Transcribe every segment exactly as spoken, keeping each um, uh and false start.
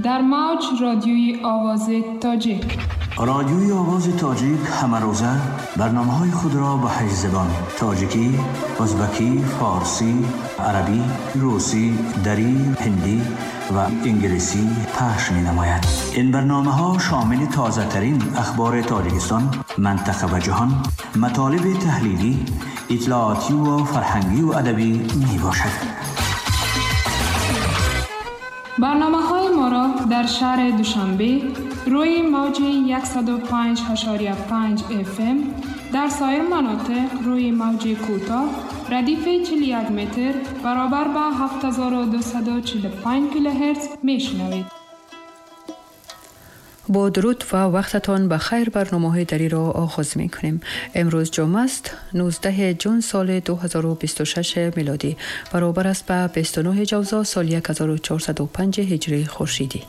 در موج رادیوی آواز تاجیک. رادیوی آواز تاجیک همه روزه برنامه‌های خود را به هشت زبان تاجیکی، ازبکی، فارسی، عربی، روسی، دری، هندی و انگلیسی پخش می‌نماید. این برنامه‌ها شامل تازه‌ترین اخبار تاجیکستان، منطقه و جهان، مطالب تحلیلی، اطلاعاتی و فرهنگی و ادبی می‌باشد. برنامه‌های ما را در شهر دوشنبه روی موج صد و پنج ممیز پنج اف ام، در سایر مناطق روی موج کوتاه ردیف چهل و یک متر برابر با هفت هزار و دویست و چهل و پنج کیلوهرتز میشنوید. با درود و وقتتان به خیر برنامه‌های دری را آغاز می‌کنیم. امروز جمعه است، نوزده جون سال دو هزار و بیست و شش میلادی، برابر است به بیست و نه جوزا سال هزار و چهارصد و پنج هجری خورشیدی.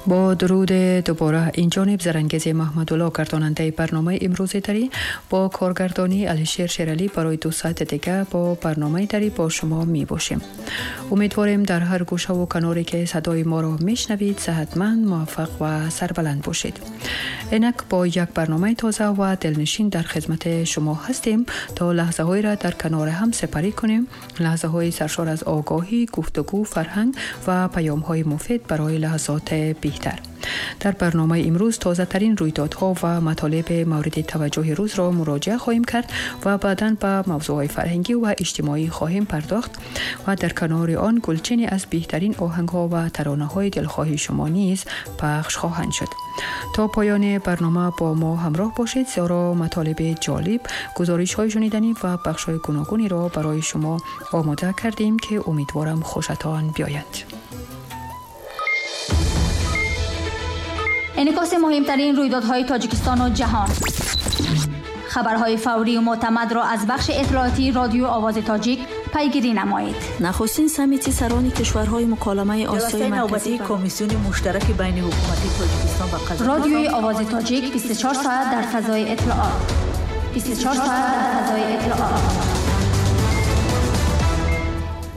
با درود دوباره این جانب زرنگز محمدالله گرداننده برنامه امروز دری با کارگردانی علیشیر شیرالی برای دو ساعت دیگه با برنامه دری با شما می باشیم. امیدواریم در هر گوشه و کناری که صدای ما را می شنوید صحتمند، موفق و سربلند باشید. اینک با یک برنامه تازه و دلنشین در خدمت شما هستیم تا لحظه های را در کنار هم سپری کنیم، لحظه های سرشار از آگاهی، گفتگو، فرهنگ و پیام های مفید برای لحظات بهتر. در برنامه امروز تازه ترین رویدادها و مطالب مورد توجه روز را مراجعه خواهیم کرد و بعداً به موضوعهای فرهنگی و اجتماعی خواهیم پرداخت و در کنار آن گلچینی از بهترین آهنگها و ترانه‌های دلخواه شما نیز پخش خواهند شد. تا پایان برنامه با ما همراه باشید، زیرا مطالب جالب، گزارش‌های شنیدنی و بخش‌های گوناگونی را برای شما آماده کردیم که امیدوارم خوشتان بیاید. انعکاس مهمترین رویدادهای تاجیکستان و جهان، خبرهای فوری و معتمد را از بخش اطلاعاتی رادیو آواز تاجیک پیگیری نمایید. نخستین سمیتی سران کشورهای مکالمه آسیای مرکزی، کمیسیون مشترک بین حکومتی تاجیکستان و قزاقستان. رادیوی آواز تاجیک بیست و چهار ساعت در فضای اطلاعات. بیست و چهار ساعت در فضای اطلاعات.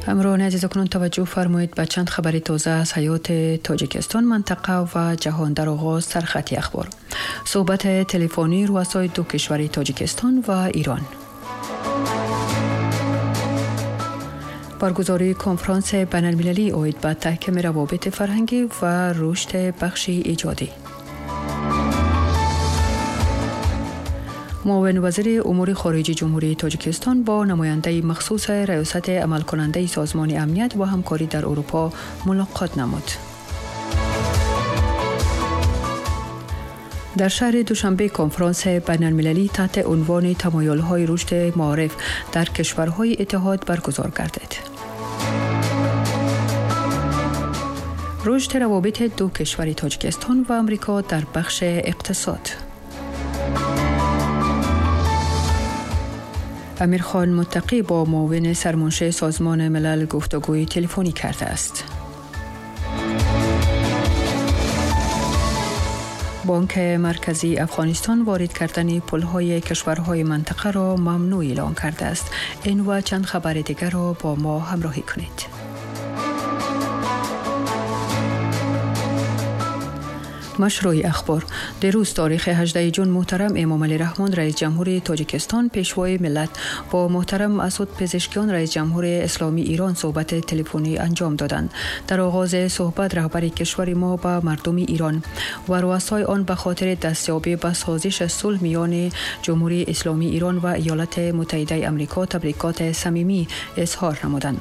همراهان عزیز، اکنون توجه فرمایید به چند خبر تازه از حیات تاجیکستان، منطقه و جهان. در آغاز سرخطی اخبار. صحبت تلفنی رؤسای دو کشور تاجیکستان و ایران. برگزاری کنفرانس بین‌المللی عاید به تحکیم روابط فرهنگی و رشد بخش ایجادی. معاون وزیر امور خارجه جمهوری تاجیکستان با نماینده مخصوص ریاست عمل کننده سازمان امنیت و همکاری در اروپا ملاقات نمود. در شهر دوشنبه کنفرانس بین‌المللی تحت عنوان تمایل‌های رشد معارف در کشورهای اتحاد برگزار گردید. رشد روابط دو کشور تاجیکستان و آمریکا در بخش اقتصاد. امیرخان متقی با معاون سرمنشی سازمان ملل گفتگوی تلفنی کرده است. بانک مرکزی افغانستان وارد کردن پولهای کشورهای منطقه را ممنوع اعلام کرده است. این و چند خبر دیگر را با ما همراهی کنید. مشروع اخبار. دیروز تاریخ هجدهم جون محترم امام علی رحمان رئیس جمهور تاجیکستان پیشوای ملت با محترم مسعود پزشکیان رئیس جمهور اسلامی ایران صحبت تلفنی انجام دادند. در آغاز صحبت رهبر کشور ما به مردم ایران و رؤسای آن به خاطر دستیابی به سازش صلح میان جمهوری اسلامی ایران و ایالات متحده آمریکا تبریکات صمیمی اظهار نمودند.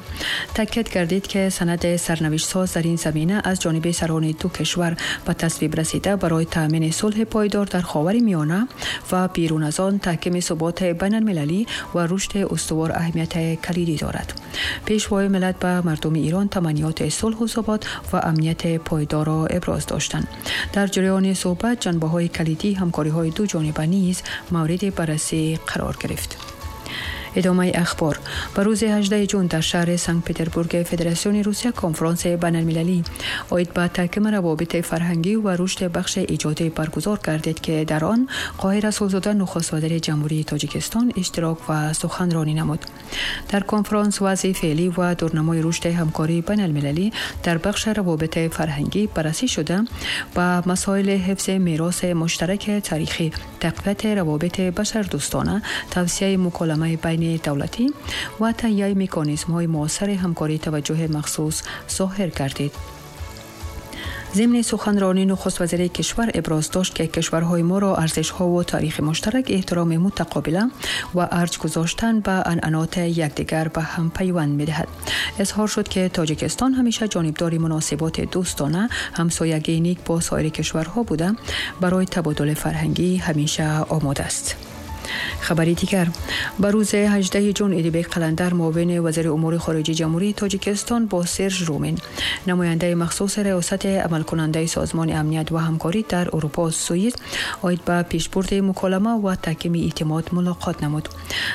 تاکید کردید که سند سرنوشت ساز در این زمینه از جانب سران دو کشور به تصویب رسیده برای تامین صلح پایدار در خاورمیانه و بیرون از آن تحکیم ثبات بین المللی و رشد استوار اهمیت کلیدی دارد. پیشوای ملت به مردم ایران تمنیات صلح و ثبات و امنیت پایدار را ابراز داشتند. در جریان صحبت جنبه‌های کلیدی همکاری‌های دو جانبه نیز مورد بررسی قرار گرفت. ادامه اخبار. به روز هجدهم جون در شهر سنت پترزبورگ فدراسیون روسیه کنفرانس بین‌المللی عاید به تحکیم روابط فرهنگی و رشد بخش ایجادی برگزار گردید که در آن قاهر رسولزاده نخست وزیر جمهوری تاجیکستان اشتراک و سخنرانی نمود. در کنفرانس وضع فعلی و دورنمای رشد همکاری بین‌المللی در بخش روابط فرهنگی بررسی شده و مسائل حفظ میراث مشترک تاریخی، تقویت روابط بشردوستانه، توسعه مکالمه بین دولتی و تهیه مکانیزم‌های معاصر همکاری توجه مخصوص ظاهر گردید. ضمن سخنرانی نخست وزیر کشور ابراز داشت که کشورهای ما را ارزش‌ها و تاریخ مشترک، احترام متقابله و ارج گذاشتن به عنعنات یکدیگر به هم پیوند می‌دهد. اظهار شد که تاجیکستان همیشه جانبدار مناسبات دوستانه، همسایگی نیک با سایر کشورها بوده، برای تبادل فرهنگی همیشه آماده است. خبری دیگر. به روز هجدهم جون ادیبک قلندر معاون وزیر امور خارجه جمهوری تاجیکستان با سرژ رومین نماینده مخصوص ریاست عمل کننده سازمان امنیت و همکاری در اروپا سوئیس عاید به پیشبرد مکالمه و تحکیم اعتماد ملاقات نمود.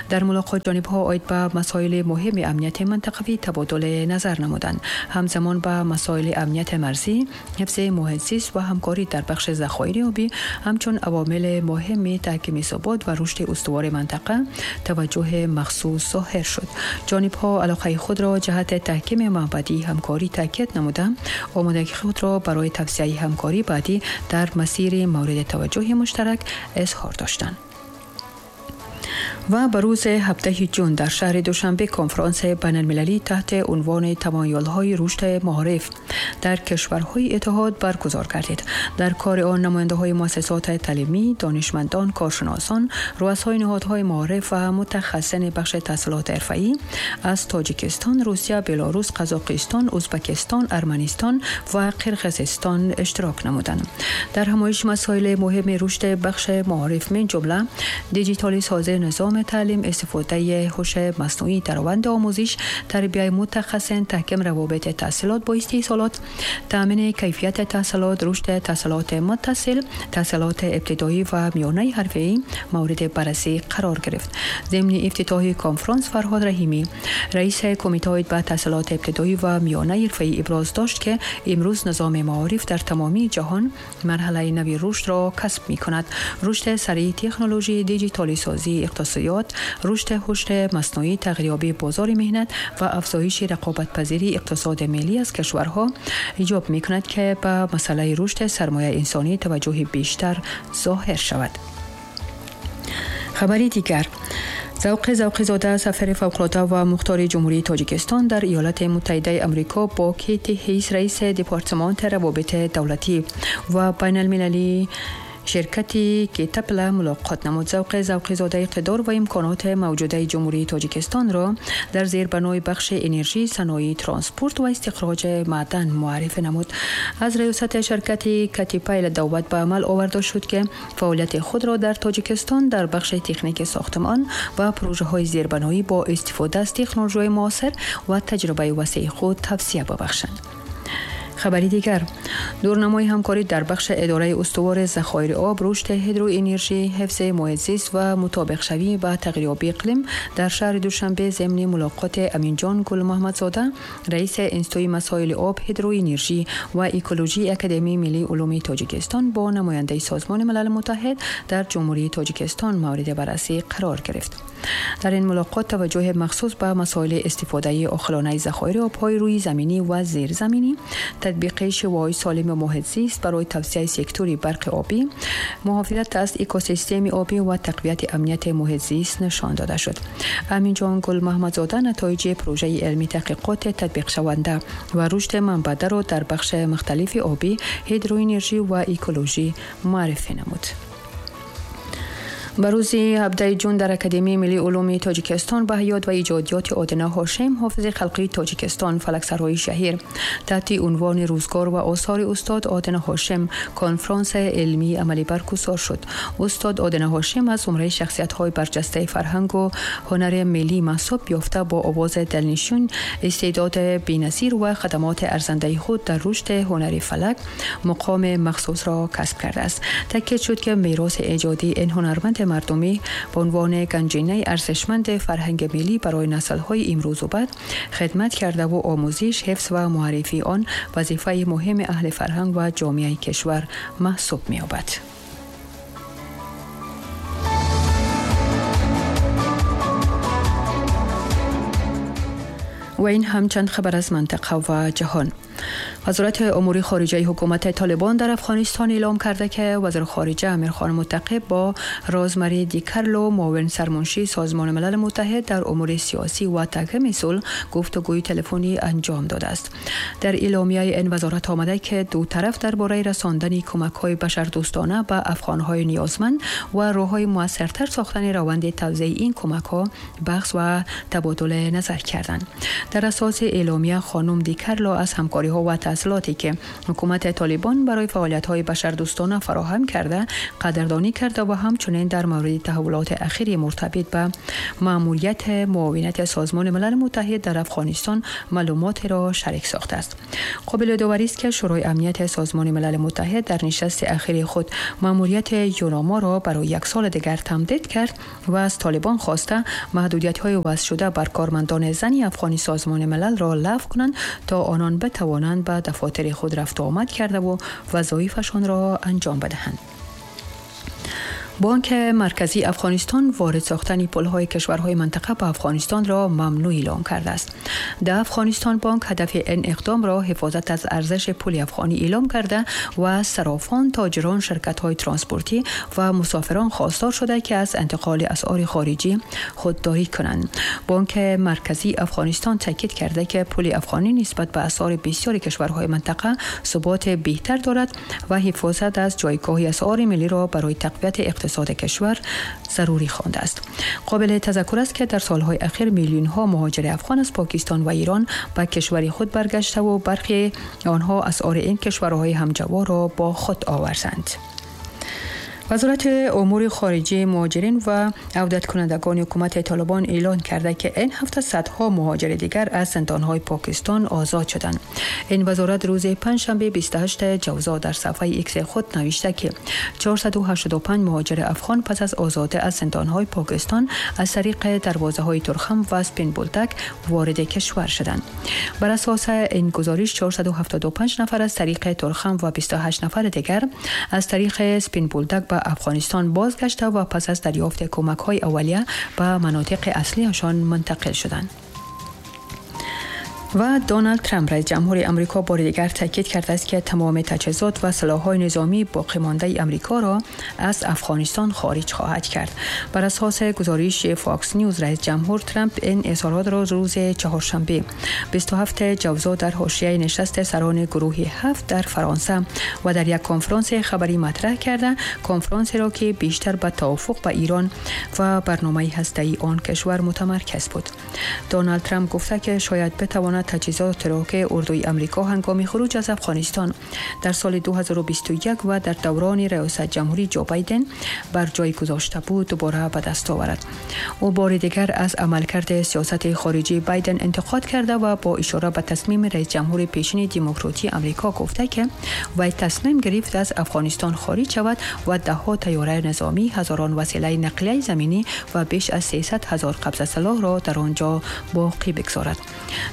در ملاقات جانبها عاید به مسائل مهم امنیت منطقوی تبادل نظر نمودند. همزمان به مسائل امنیت مرزی، حفظ محیط زیست و همکاری در بخش ذخایر آبی همچون عوامل مهم تحکیم ثبات و رشد استوار منطقه توجه مخصوص ظاهر شد. جانبها علاقه خود را جهت تحکیم مبادی همکاری تاکید نمودند، آمادگی خود را برای توسعه همکاری بعدی در مسیر مورد توجه مشترک اظهار داشتند. و به روز هفدهم جون در شهر دوشنبه کنفرانس بین‌المللی تحت عنوان تمایل‌های رشد معارف در کشورهای اتحاد برگزار گردید. در کار آن نماینده‌های مؤسسات تعلیمی، دانشمندان، کارشناسان، رؤسای نهادهای معارف و متخصصین بخش تحصیلات حرفه‌ای از تاجیکستان، روسیه، بلاروس، قزاقستان، ازبکستان، ارمنستان و قرقیزستان اشتراک نمودند. در همایش مسائل مهم رشد بخش معارف من جمله دیجیتالی سازی نظام تعلیم، استفاده هوش مصنوعی در روند آموزش، تربیه متخصصین، تحکیم روابط تحصیلات با استحصالات، تامین کیفیت تحصیلات، رشد تحصیلات متصل، تحصیلات ابتدایی و میانه حرفه‌ای مورد بررسی قرار گرفت. ضمن افتتاح کنفرانس فرهاد رحیمی رئیس کمیته به تحصیلات ابتدایی و میانه حرفه‌ای ابراز داشت که امروز نظام معارف در تمامی جهان مرحله نوی رشد را کسب می‌کند. رشد سریع تکنولوژی، دیجیتالی سازی اقتصادیات، رشد هوش مصنوعی، تغییریابی بازار مهنت و افزایش رقابت‌پذیری اقتصاد ملی از کشورها ایجاب می‌کند که به مسئله رشد سرمایه انسانی توجه بیشتر ظاهر شود. خبری دیگر. ذوق ذوق‌زاده سفیر فوق‌العاده و مختار جمهوری تاجیکستان در ایالات متحده آمریکا با کیت هیس رئیس دپارتمان روابط دولتی و بین‌المللی شرکت کتپلا ملاقات نمود. ذوق ذوق‌زاده اقتدار و امکانات موجوده جمهوری تاجیکستان را در زیربنای بخش انرژی، صنایع، ترانسپورت و استخراج معدن معرفی نمود. از ریاست شرکت کتیپایل دعوت به عمل آورده شد که فعالیت خود را در تاجیکستان در بخش تکنیک ساختمان و پروژه‌های زیربنایی با استفاده از تکنولوژی معاصر و تجربه وسیع خود توسعه ببخشند. خبری دیگر. دورنمای همکاری در بخش اداره استوار ذخایر آب، رشد هیدرو انرژی، حفظ محیط زیست و مطابق شوی به تغییریابی اقلیم در شهر دوشنبه ضمن ملاقات امینجان گل محمدزاده رئیس انستیتوی مسائل آب، هیدرو انرژی و اکولوژی اکادمی ملی علوم تاجیکستان با نماینده سازمان ملل متحد در جمهوری تاجیکستان مورد بررسی قرار گرفت. در این ملاقات توجه مخصوص به مسائل استفاده عاقلانه ذخایر آب‌های روی زمینی و زیرزمینی، تطبیق شیوه‌های سالم محیط زیست برای توسعه سکتور برق آبی، محافظت از اکوسیستم آبی و تقویت امنیت محیط زیست نشان داده شد. امینجان گل محمدزاده نتایج پروژه علمی تحقیقات تطبیق شونده و رشد منبع را در بخش مختلف آبی، هیدرو انرژی و اکولوژی معرفی نمود. به روز هفدهم جون در اکادمی ملی علوم تاجیکستان به یاد و ایجادیات آدینه هاشم حافظ خلقی تاجیکستان فلکسرای شهیر تحت عنوان روزگار و آثار استاد آدینه هاشم کنفرانس علمی عملی برگزار شد. استاد آدینه هاشم از زمره شخصیت‌های برجسته فرهنگ و هنر ملی محسوب یافته با آواز دلنشین، استعداد بی‌نظیر و خدمات ارزنده خود در رشد هنر فلک مقام مخصوص را کسب کرده است. تاکید شد که میراث ایجادی این هنرمند مردمی به عنوان گنجینه ارزشمند فرهنگ ملی برای نسل‌های امروز و بعد خدمت کرده و آموزش، حفظ و معرفی آن وظیفه مهم اهل فرهنگ و جامعه کشور محسوب می‌یابد. و این هم چند خبر از منطقه و جهان. وزارت امور خارجه حکومت طالبان در افغانستان اعلام کرده که وزیر خارجه امیرخان متقی با رازماری دیکارلو معاون سرمنشی سازمان ملل متحد در امور سیاسی و تحکیم صلح گفتگوی تلفنی انجام داده است. در اعلامیه این وزارت آمده که دو طرف درباره رساندن کمک‌های بشردوستانه به افغان‌های نیازمند و راه‌های موثرتر ساختن روند توزیع این کمک‌ها بحث و تبادل نظر کردند. در اساس اعلامیه خانم دیکارلو از همکاری‌ها و تسهیلاتی که حکومت طالبان برای فعالیت‌های بشردوستانه فراهم کرده قدردانی کرده و همچنین در مورد تحولات اخیر مرتبط به مأموریت معاونت سازمان ملل متحد در افغانستان معلومات را شریک ساخته است. قابل داوری است که شورای امنیت سازمان ملل متحد در نشست اخیر خود مأموریت یوناما را برای یک سال دیگر تمدید کرد و از طالبان خواسته محدودیت‌های وضع شده بر کارمندان زن افغانی سازمان ملل را لغو کنند تا آنان بتوانند به دفاتر خود رفت و آمد کرده و وظایفشان را انجام بدهند. بانک مرکزی افغانستان وارد ساختن پول‌های کشورهای منطقه به افغانستان را ممنوع اعلام کرده است. در افغانستان بانک هدف این اقدام را حفاظت از ارزش پول افغانی اعلام کرده و صرافان، تاجران، شرکت‌های ترانسپورتی و مسافران خواستار شده که از انتقال اسعار خارجی خودداری کنند. بانک مرکزی افغانستان تاکید کرده که پول افغانی نسبت به اسعار بسیاری کشورهای منطقه ثبات بهتر دارد و حفاظت از جایگاه اسعار ملی را برای تقویت اقتصاد کشور ضروری خوانده است. قابل تذکر است که در سالهای اخیر میلیون ها مهاجر افغان از پاکستان و ایران به کشور خود برگشته و برخی آنها اسعار این کشورهای همجوار را با خود آوردند. وزارت امور خارجه مهاجرین و عودت کنندگان حکومت طالبان اعلان کرده که این هفته صدها مهاجر دیگر از زندان‌های پاکستان آزاد شدند. این وزارت روز پنجشنبه بیست و هشتم جوزا در صفحه ایکس خود نوشته که چهارصد و هشتاد و پنج مهاجر افغان پس از آزادی از زندان‌های پاکستان از طریق دروازه‌های ترخم و سپین بولدک وارد کشور شدند. بر اساس این گزارش چهارصد و هفتاد و پنج نفر از طریق ترخم و بیست و هشت نفر دیگر از طریق سپین بولدک به افغانستان بازگشته و پس از دریافت کمک‌های اولیه به مناطق اصلیشان منتقل شدند. و دونالد ترامپ رئیس جمهور آمریکا بار دیگر تاکید کرده است که تمام تجهیزات و سلاح‌های نظامی باقی مانده آمریکا را از افغانستان خارج خواهد کرد. بر اساس گزارش فاکس نیوز رئیس جمهور ترامپ این اظهارات را روز چهارشنبه بیست و هفتم جوزا در حاشیه نشست سران گروه هفت در فرانسه و در یک کنفرانس خبری مطرح کرده، کنفرانسی را که بیشتر به توافق با ایران و برنامه هسته‌ای آن کشور متمرکز بود. دونالد ترامپ گفته که شاید بتواند تجهیزات را که اردوی امریکا هنگام خروج از افغانستان در سال دو هزار و بیست و یک و در دوران ریاست جمهوری جو بایدن بر جای گذاشته بود دوباره به دست آورد. او بار دیگر از عملکرد سیاست خارجی بایدن انتقاد کرده و با اشاره به تصمیم رئیس جمهور پیشین دموکراتی امریکا گفته که وی تصمیم گرفت از افغانستان خارج شود و دهها طیاره نظامی، هزاران وسیله نقلیه زمینی و بیش از سیصد هزار قبضه سلاح را در آنجا باقی بگذارد.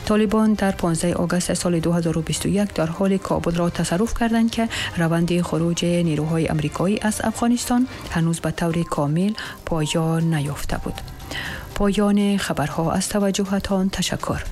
طالبان در پانزدهم آگوست سال دو هزار و بیست و یک در حال کابل را تصرف کردند که روند خروج نیروهای امریکایی از افغانستان هنوز به طور کامل پایان نیافته بود. پایان خبرها. از توجهتان تشکر.